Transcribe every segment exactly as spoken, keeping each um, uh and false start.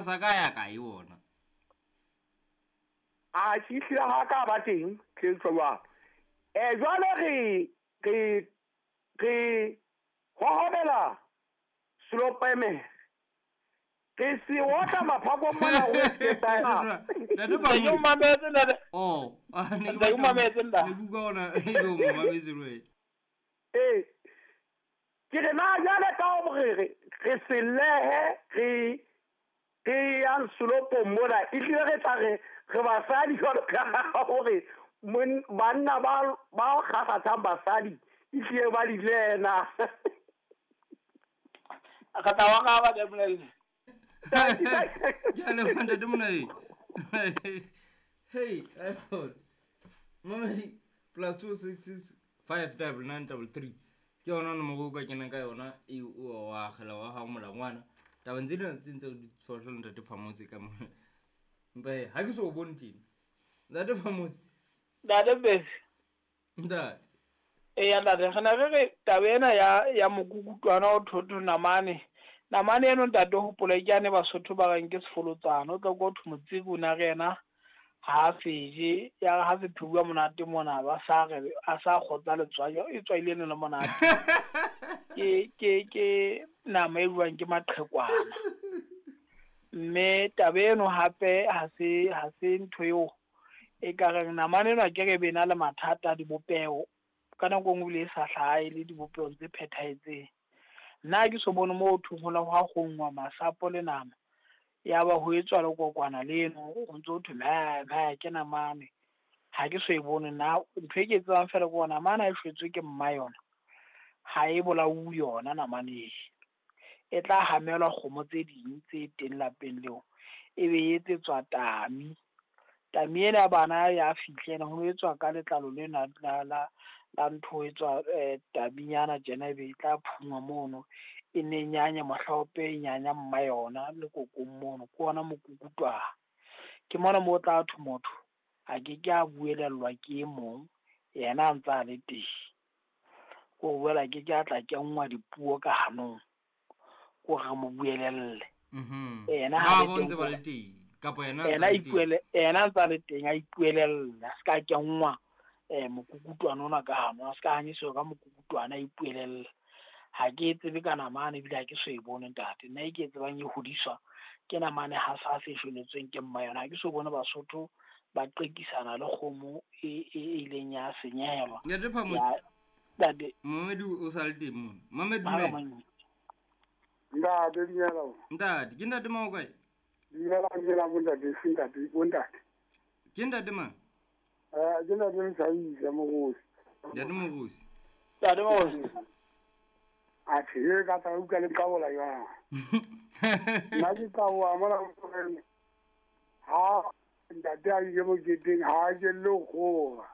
Sa ka ya kae ona? A ke hlile ha ka ba teng ke jwalo. Eh jwale re re re hohobela selopeme. Re se otla maphako mona ho etsa. Ntate ba Ke mametse ntate. Oh, ah ne ke mametse ntate. Ne buka ona e lo mametse le. Eh. Ke re na jwale ka hore re re selehe re re yang selopong mona e hlile re tla re re basadi jwalo ka hore banna ba ba kgakgathang basadi e hlile ba di lena. Ka tla wa ka ba le bolelle. Ke a leboha ntate Monai. Hey, I thought. Mamedi plus two six six five double nine double three. Ke yona nomoro o ka kenang ka yona e o wa akgela wa hao molangwana. Tabeng tsena tse ntse di tshohla ntate Phamotse ka mona. Empa he, ha ke so o bone tjena. Ntate Phamotse. Ntate Bese. Ntate. Eya ntate, re na re re taba ena ya ya mokukutwana o thotho namane. Namane eno ntate hopola ke ane Basotho ba reng ke sefolotsana, o tla go thwe motsiki o na re yena ha seje ya ha se pheuwa monate mona ba sa re a sa kgotsa letswai e tswaile le monate. Ke ke ke nama e buang ke maqhekwana. Mme taba eno hape ha se ha se ntho eo e ka reng namane eno ke re bena le mathata a dibopeho ka nako nngwe le sa hlahe le dibopeho tse phethahetseng. Nna ke so bone mo thong ho la ho kgongwa masapo le nama ya ba ho etswa le kokwana leno o ntso thwe me me ke namane. Ha ke so e bone nna ntho e ke tsebang fela ke ona namane e shwetswe ke mma yona ha e bolauwe yona namane e tla hamelwa kgomo tse ding tse teng lapeng leo e be e etsetswa tami. Tami ena bana ya fihla ho etswa ka letlalo lena la la la ntho e tswa taminyana tjena ebe e tla phungwa mono e ne nyanya mohlaope e nyanya mma yona le kokong mono ke ona mokukutwana. Ke mona mo tla thwe motho a ke ke a buelellwa ke e mong yena a ntsa le teng. Ko boela ke ke a tla kenngwa dipuo ka hanong ko re mo buelelle. Mhm. Yena ha ha bo ntse ba le teng kapa yena yena ipuele yena ntsa le teng a ipuelella a ska kenngwa eh mokukutwana ona ka hano a ska hanyiswa ka mokukutwana a ipuelella. Ha ke tsebe ka namane ebile ha ke so e bone ntate. Nna e ke tsebang e hodiswa ke namane ha sa se shweletsweng ke mma yona. Ha ke so bone Basotho ba qekisana le kgomo e e ileng ya senyehelwa. Ntate Phamotse. Ntate. Mamedi o sa le teng mona. Mamedi dumela. Ntate dumela. Ntate, ke ntate mang o kae? Dumela dumela bontate, ntate bontate. Ke ntate mang? Eh ke ntate Msaisa Mogosi. Ntate Mogosi. Ntate Mogosi. A tshele ka tla utlwa le nqabola jwang. Nna ke qaboha mona ha ntate a ile moketeng ha ke le kgora.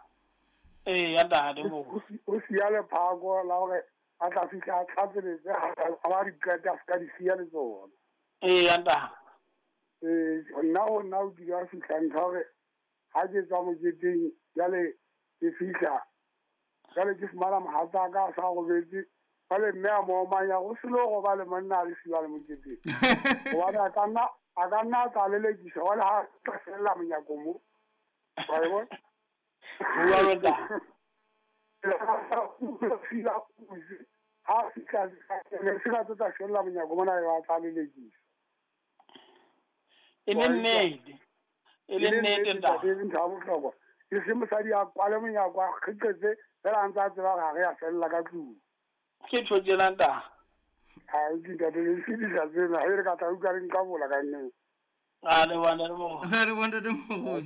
Eh ya ntate Mogosi. O siya lephako la hore a tla fihla a tlhatseletse a ba di qeta a ska di siya le tsona. Eh ya ntate. Eh nna ho nna o kile wa fihla ntho hore ha ke tswa moketeng jwale ke fihla jwale ke fumana mohatsa ka a sa robetse jwale mme a mo omanya go selo go ba le monna a le siwa le moketeng hobane a ka nna a ka nna a tla lelekisa jwale ha tla fella monyako mo wa e bona. Ha fihla ne se ka tla fella monyako mona e ba tla lelekisa. E le nnete. E le nnete ntate. E le ntho ya bohlokwa. E se mosadi a kwale monyako a kgeqetse fela a ntse a tseba hore ha re a fella ka tlung. Ke tjho tjena ntate. Ha ke ntate le fedisa tsena ha re ka tla utlwa re nqabola ka nnete. A le bona le mo. A le bona le mo.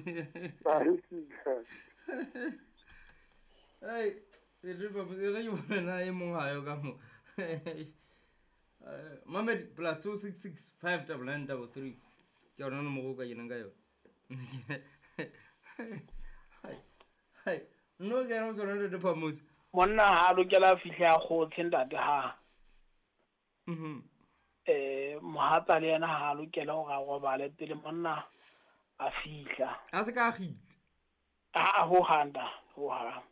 Hey, re ba botse re bona na e mong ha yo ka mo. Mamedi plus two six six five double nine double three. Ke yona nomoro o ka kenang ka yona. Hai. Hai, no ke no tsona le Phamotse. Monna ha lokela fihla kgotshe ntate ha. Mhm. Eh mohatsa le yena ha lokela hore a robale pele monna a fihla. A se ka gitla. A ho handa, ho ha.